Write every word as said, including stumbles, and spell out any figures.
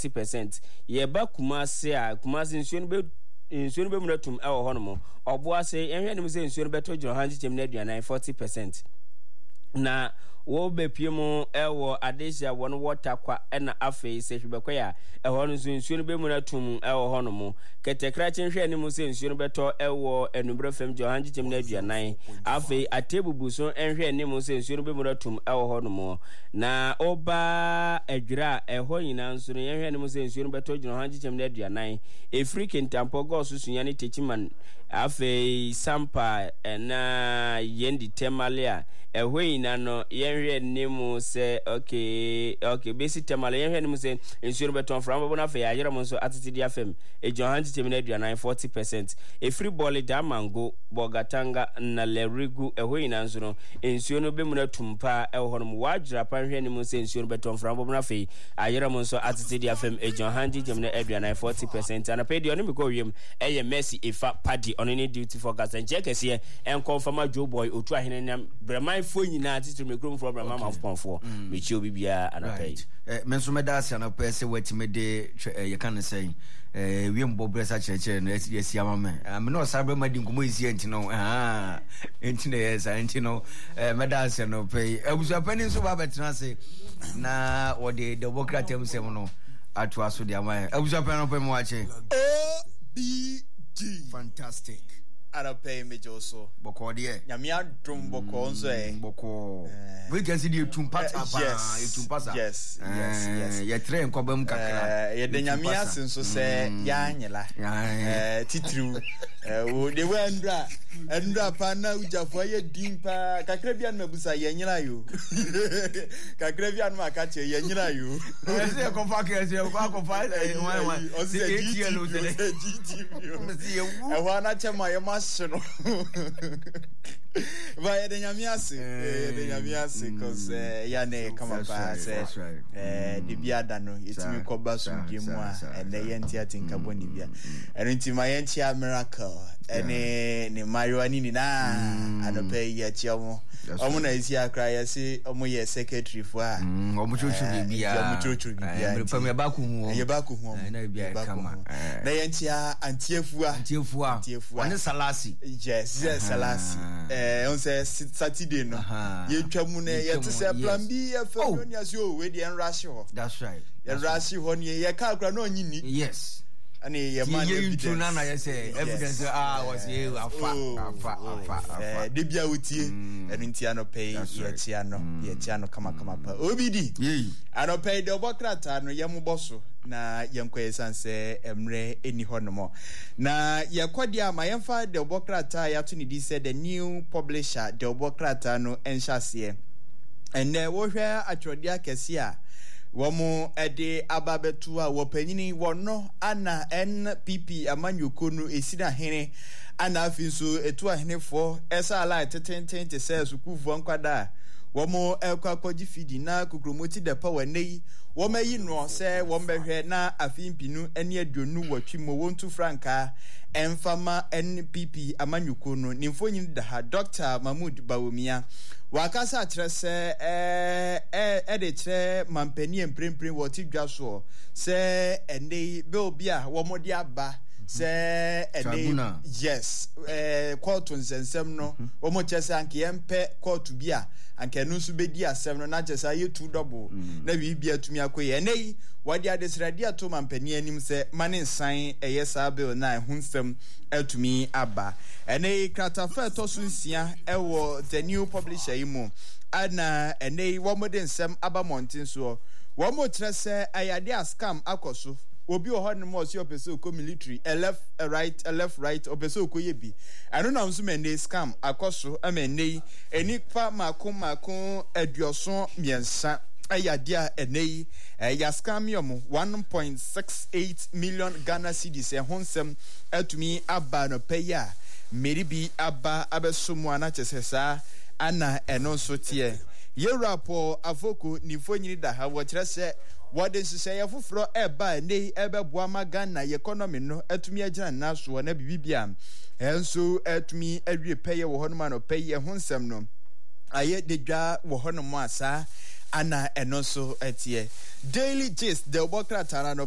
percent. Yɛba Kumase a, Kumase nsuo no bɛ nsuo no bɛmuna tum wɔ hɔnom. Ɔboase, yɛnhwɛ anim sɛ nsuo no bɛtɔ gyina ɔha nkyekyɛm no aduanan, forty percent. Na wɔbɛpue mu wɔ adehye a wɔn wɔ Tarkwa na afei Sehwibɛkɔe a ɛhɔ no nso nsuo no bɛmuna tum wɔ hɔnom. Kɛtɛkrakye nhwɛ anim sɛ nsuo no bɛtɔ wɔ anummerɛ fam gyina ɔha nkyekyɛm no aduanan. Afei Atebubu so nhwɛ anim sɛ nsuo no bɛmuna tum wɔ hɔnom. Na woba Adwira a ɛhɔ nyinaa nso no yɛnhwɛ anim sɛ nsuo no bɛtɔ gyina ɔha nkyekyɛm no aduanan. Ɛfiri Kintampo, Gɔso, Sunyani, Techiman, afei Sampa na Yendi, Tamale a ɛhɔ nyinaa no yɛnhwɛ anim sɛ okay okay bɛsi Tamale yɛnhwɛ anim sɛ nsuo no bɛtɔ, mframa bɛbɔ no afei ayerɛ mo nso atete de afam ɛgyina ɔha nkyekyɛm no aduanan, forty percent. Ɛfiri Bɔle, Damango, Bolgatanga na Lerigu ɛhɔ nyinaa nso no nsuo no bɛmuna tum paa ɛwɔ hɔnom. Wɔadwera pa nhwɛ anim sɛ nsuo no bɛtɔ, mframa bɛbɔ no afei ayerɛ mo nso atete de afam ɛgyina ɔha nkyekyɛm no aduanan, forty percent. Anɔpa yi deɛ ɔne me kɔ wiem ɛyɛ Mercy Efa Paddy, ɔno ne duty forecaster. Nkyɛ kɛseɛ ɛnkɔ mfama Joe Boy Otu Ahene ne Brɛmanfoɔ nyinaa, titiri me kuromfoɔ Brɛman Mafopɔnfoɔ. Mekyia obi biara anɔpa yi. Right. Me nso mɛda ase anɔpa yi sɛ woatumi de yɛka no sɛn wiem bɔberɛ sa kyerɛkyerɛ no asi ama me. Me ne ɔsare bɛma di nkɔmmɔ ɛsi nti no nti na ɛyɛ saa nti no mɛda ase anɔpa yi. Abusuapani nso ba bɛtena ase na wɔde dɛbɔ kratam sɛm no atoa so de ama yɛn. Abusuapani, anɔpa yi mu wakye. O B D. Fantastic. Anɔpa yi megye wo so. Bɔkɔɔ deɛ. Nyame adom, bɔkɔɔ nso ɛ. Bɔkɔɔ. Wei kɛse deɛ etu mpata paa. Yes. Etu mpasa. Yes, yes, yes. Yɛtrɛ nkɔba mu kakra. Yɛda Nyame ase nso sɛ yɛanyela. Titiriw. Wo de wo ndra ndra paa na wogyafo ayɛ din paa. Kakra bi anum abusa yɛnyela yo. Kakra bi anum aka kyerɛ yɛnyela yo. Ɛsɛ yɛkɔfa kɛse yɛkɔ akɔfa wan wan. Ɔsɛ G T V, ɔsɛ G T V. Ɛhɔ anakyɛ ma yɛma hye no. Ba yɛde Nyame ase. Yɛde Nyame ase 'cause ɛyɛ na ɛyɛ kama paa sɛ de bi ada no yɛtumi kɔba somdwe mu a ɛnɛ yɛnte atenka bɔne bia. Ɛno nti ma yɛnkyea Miracle ɛne ne mmaayewa ne nyinaa anɔpa yi, yɛkyea mo. Ɔmo na ɛsi akora yɛse ɔmo yɛ secretary fo a ɔmo kyerɛkyerɛ biribiara. Ɔmo kyerɛkyerɛ biribiara. Mmerɛ pam yɛba akɔhu wɔn. Yɛba akɔhu wɔn. Na biribiara yɛba kama. akɔhu wɔn. Na yɛnkyea Antiefua. Antiefua. Antiefua. Ɔne Salasi. Yes, yes, Salasi. Ɛɛ ɔn sɛ Saturday no yɛtwa mu no yɛte sɛ plan B F M no ni ase o, wei deɛ ɛnrahye hɔ. That's right. Yɛnrahye hɔ ne yɛka akora na ɔnye ni. Yes. Ɛne yɛ ma no evidence. Yɛ na na yɛ sɛ evidence ah wɔsi yɛ afa afa afa afa. Ɛɛ de bia wotie ɛno nti anɔpɛ yi yɛkyia no yɛkyia no kamakama pa obi di. Anɔpɛ yi deɛ ɔbɔ krataa no yɛn bɔ so na yɛnkɔ yɛ san sɛ mmerɛ ɛni hɔ nom na yɛkɔ deɛ ama yɛmfa deɛ ɔbɔ krataa yɛato ne di sɛ The New Publisher. Deɛ ɔbɔ krataa no nhyɛ aseɛ ɛnɛ, wohwɛ atwerɛdeɛ akɛseɛ a wɔn de aba abɛto a wɔpanyini wɔn ana N P P amanyɔkuo no esi n'ahene ana afei nso etu ahenefoɔ ɛsa line tetenten te sɛ sukuufoɔ nkwadaa a wɔn ɛkɔ akɔgye fidi na kokromoti dɛpa wɔ ɛnɛ yi wɔn ayi noɔ sɛ wɔn bɛhwɛ na afe mpinu ne aduonu wɔtwe mu wɔntu frankaa ɛmfama N P P amanyɔkuo no. Ne mfonyin da ha. Doctor Mahmood Bawumia wakasa akyerɛ sɛ ɛɛ ɛde kyerɛ mampanin mprempren wɔte dwa soɔ sɛ ɛnɛ yi bill bi a wɔn de aba sɛ ɛnɛ yi, yes, ɛɛ kɔɔto nsɛnsɛm no wɔn kyerɛ sɛ anka yɛmpɛ kɔɔto bi a anka ɛno nso bɛdi asɛm no na kyerɛ sɛ ayɛ two double na biribi atumi akɔ yi. Ɛnɛ yi wɔde adesrɛdeɛ ato mampanin anim sɛ ma ne nsan ɛyɛ saa bill na ɛho nsɛm atumi aba. Ɛnɛ yi kratafa ɛtɔ so nsia ɛwɔ The New Publisher yi mu ɛna ɛnɛ yi wɔn de nsɛm aba mmɔnten soɔ. Wɔn kyerɛ sɛ ɛyɛ adeɛ a scam akɔ so. Obi wɔ hɔ nom a ɔsi ɔpɛ sɛ ɔkɔ military, a left, a right, a left, right, ɔpɛ sɛ ɔkɔ yɛ bi. Ɛno nam so ma ɛnɛ scam akɔ so ɛma ɛnɛ yi nipa mako mako aduɔson mmiɛnsa ɛyɛ adeɛ a ɛnɛ yi ɛyɛ scam yɛ ɔmo one point six eight million Ghana cedis. Ɛho nsɛm atumi aba nɔpɛ yi a mmeri bi aba abɛso mu a na kyerɛ sɛ saa ana ɛno nso teɛ. Yɛwura Paul Afoko ne mfonyini da ha. Wɔkyerɛ sɛ wɔde nhyehyɛeɛ foforɔ ɛreba a ɛnɛ yi ɛbɛboa ma Ghana yɛ economy no atumi agyina ne nan soɔ na biribi bia ɛnso atumi awie pɛyɛ wɔ hɔnom. Anɔpɛ yi ɛho nsɛm no ayɛ de dwa wɔ hɔnom a saa ana ɛno nso ɛteɛ. Daily Gist de ɔbɔ krataa no.